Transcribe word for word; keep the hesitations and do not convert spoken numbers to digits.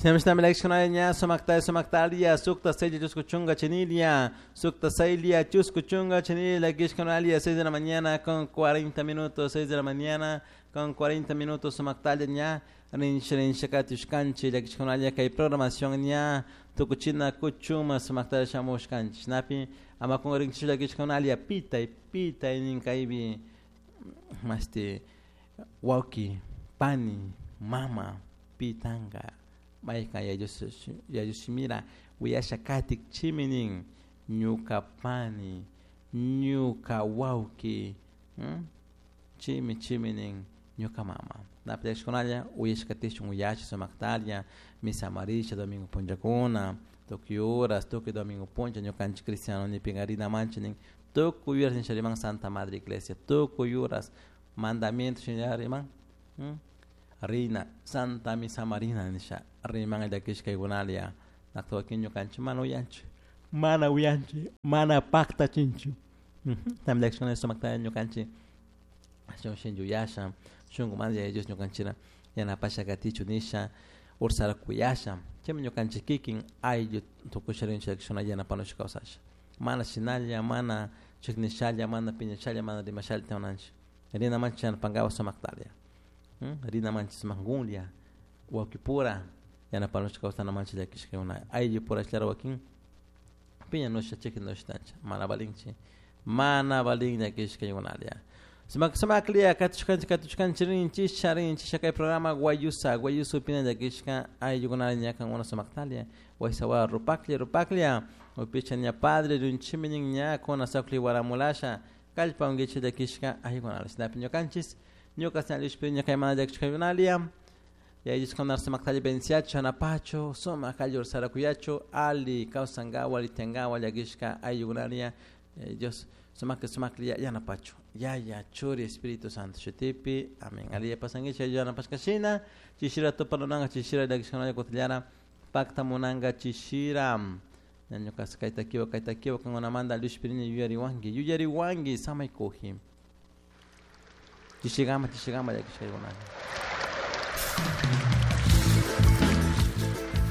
Shinami llakishkunalla sumakta sumaktalia sukta saylla chusku chunka chinilia sukta saylia chusku chunka chinilia llakishkunalia seis de la mañana con cuarenta minutos, seis de la mañana con cuarenta minutos sumaktalla ña rincha rincha katushkanchik llakishkunalla kay programación ña tukuchina kuchuma sumaktalla shamushkanchik shinapi ama kunrinchik llakishkunalia pitay pitay nin kaypi mashti wawki pani mama pitanka maykan yayushimira uyasha katik chimi nin ñuka pani ñuka wawki chimi chimi nin ñuka mama napi llakishkunalla uyashkatishun uyashi sumaktalla misa marisha domingo punllakuna tukuy horas tukuy domingo punlla ñukanchik cristiano nipika rinamanchik nin tukuy horas nisha riman Santa Madre Iglesia tukuy horas mandamiento shina riman rina Santa Misa Marina nisha riman llakishkaykunalia nakta wakin ñukanchik mana uyanchik mana uyanchik mana paktachinchik también llakishkuna sumakta ñukanchik shun shinchi uyasha shunkumanta Yaya Dios ñukanchikta yanapasha katichu nisha ursara kuyasha chaymi ñukanchik kikin ayllu tukusha rinchik llakishkuna yanapanushka kawsasha mana shinalla mana chiknishalla mana piñashalla mana rimashalla tiyananchik rinamanchik yanapankapak sumaktalla rinamanchik sumakkunlla wawkipura yanapanushka kawsanamanchik llakishkakuna ayllupura ashlara wakin piñanusha chiknusha mana valinchik mana valin llakishkaykunalla sumak sumaklia katushkanchik katushkanchik rinchisha rinchisha kay programa Guayusa Guayusa upina llakishka ayllukunalla ña kankuna sumaktalia waysawa rupaklla rupaklla upicha ña padre runchimi nin ña kuna saqli waramulasha kallpankichik llakishka ayllukunalla shinapi ñukanchis ñuka señalishpi ñukaymana llakishkaykunalia yayushkunar sumaktalla benciacho anapacho sumak allur sarakuyacho ali kawsankawa ali tiyankawa llakishka ayllukunalia Dios sumakli sumakli yanapacho Yaya Churi Espíritu Santo shutipi amén aliya pasankichik yanapashkashina chishira tupanunanka chishira llakishkunalla kutillara paktamunanka chishira ñuka kayta kiwa kayta kiwa kankunamanta llushpirini yuyariwanki yuyariwanki samaykuji chishikama chishikama llakishkaykunalla.